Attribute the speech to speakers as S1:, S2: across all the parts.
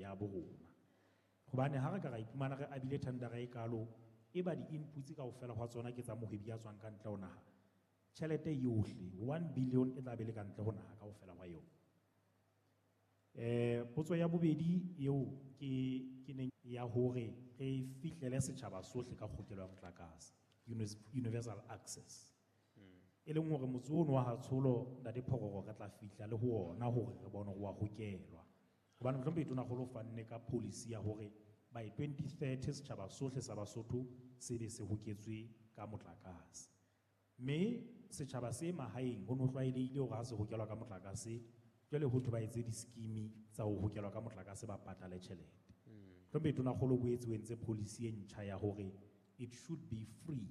S1: ya borona. Hobane ha re ka ra iphumana re abile thendera e kalo, e ba di-inputs kaofela hwa tsona ke tsa mohwebi ya tswang ka ntle ho naha. Tjhelete yohle, 1 billion e tla be le ka ntle ho naha kaofela hwa yona. Potso ya bobedi eo ke neng ya hore re fihlele setjhaba sohle ka kgokelo ya motlakase, universal access. E leng hore motse ono wa Hatsholo, Ntate Phororo, re tla fihla le ho ona hore re bone hore wa hokelwa. Hobane mohlomphehi Tonakgolo o fanne ka policy ya hore by 2030 setjhaba sohle sa Basotho se be se hoketswe ka motlakase. Mme setjhaba se mahaeng ho no tlwaelehile hore ha se hokelwa ka motlakase, jwale ho thwe ba etse di-scheme tsa ho hokelwa ka motlakase ba patale tjhelete. Mohlomphehi Tonakgolo o boetse o entse policy e ntjha ya hore it should be free.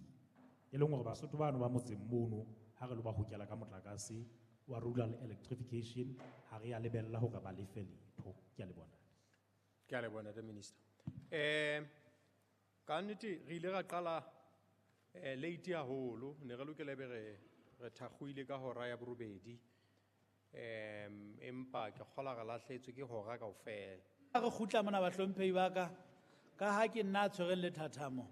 S1: E leng hore Basotho bano ba motseng mono ha re lo ba hokela ka motlakase wa rural electrification, ha re ya lebella hore ba lefe letho. Ke a leboha.
S2: Ke a leboha, Ntate Minister. Ka nnete re ile ra qala late haholo, ne re lokela ebe re thakgoile ka hora ya borobedi. Empa ke kgola re lahlehetswe ke hora kaofela.
S3: Ha re kgutla mona bahlomphehi ba ka, ka ha ke nna a tshwereng lethathamo,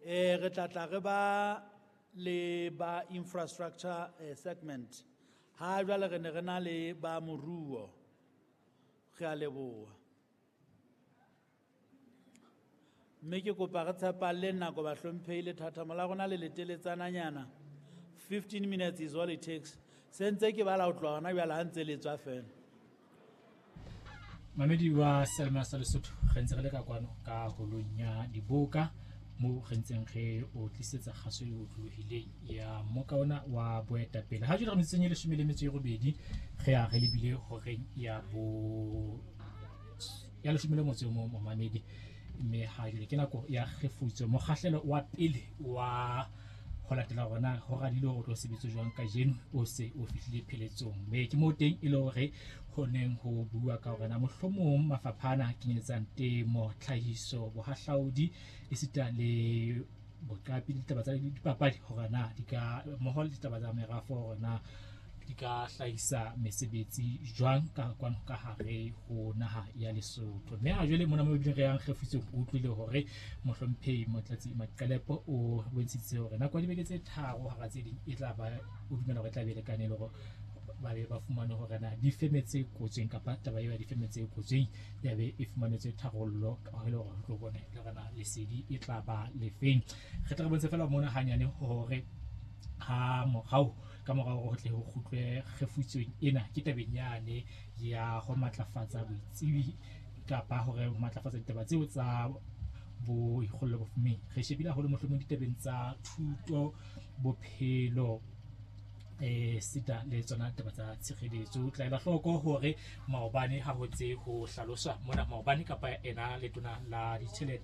S3: re tla tla re ba le ba infrastructure segment. Ha jwale re ne re na le ba moruo. Re a leboha. Mme ke kopa re tshepalle nako bahlomphehi, lethathamo la rona le leteletsananyana. 15 minutes is all it takes. Se ntse ke bala ho tloha hona jwale ha ntse le tswa fela.
S4: Mamedi wa Selma sa Lesotho, re ntse re le ka kwano ka holong ya diboka moo re ntseng re o tlisetsa kgaso e otlolohileng ya mmoka ona wa boetapele. Ha jwale re metsotsong e leshome le metso e robedi, re ya re lebile horeng ya bo ya leshome le motso o mong momamedi. Mme ha jwale ke nako ya kgefutso, mokgahlelo wa pele wa ho latela hore na ho radile hore o tlo sebetsa jwang kajeno o se o fihlile pheletsong. Mme ke moo teng e le hore ho neng ho bua ka hore na mohlomong mafapha ana a kenyeletsang temo, tlhahiso, bohahlaudi, esita le boqapi le ditaba tsa dipapadi hore na di ka mmoho le ditaba tsa merafo hore na di ka hlahisa mesebetsi jwang ka kwano ka hare ho naha ya Lesotho. Mme ha jwale mona mo ebileng re yang kgefutso, o utlwile hore mohlomphehi Motlatsi Maqelepo o bontshitse hore nako ya dibeke tse tharo hara tse ding e tla ba, o dumela hore e tla be e lekane le hore ba be ba fumane hore na difeme tse kotsweng kapa taba eo ya difeme tse kotsweng ya be e fumanetswe tharollo, ka ho le hore re tlo bone le hore na lesedi e tla ba lefeng. Re tla re bontshe fela mona hanyane hore ha morao ka morao ho tle ho kgutlwe kgefutsong ena ke tabeng yane ya ho matlafatsa boitsebi kapa hore ho matlafatsa ditaba tseo tsa boikgollo bofumeng. Re shebile haholo mohlomong ditabeng tsa thuto, bophelo, sita le tsona taba tsa tshireletso. Tla ela hloko hore maobane ha ho ntse ho hlaloswa mona maobane kapa ena letona la ditjhelete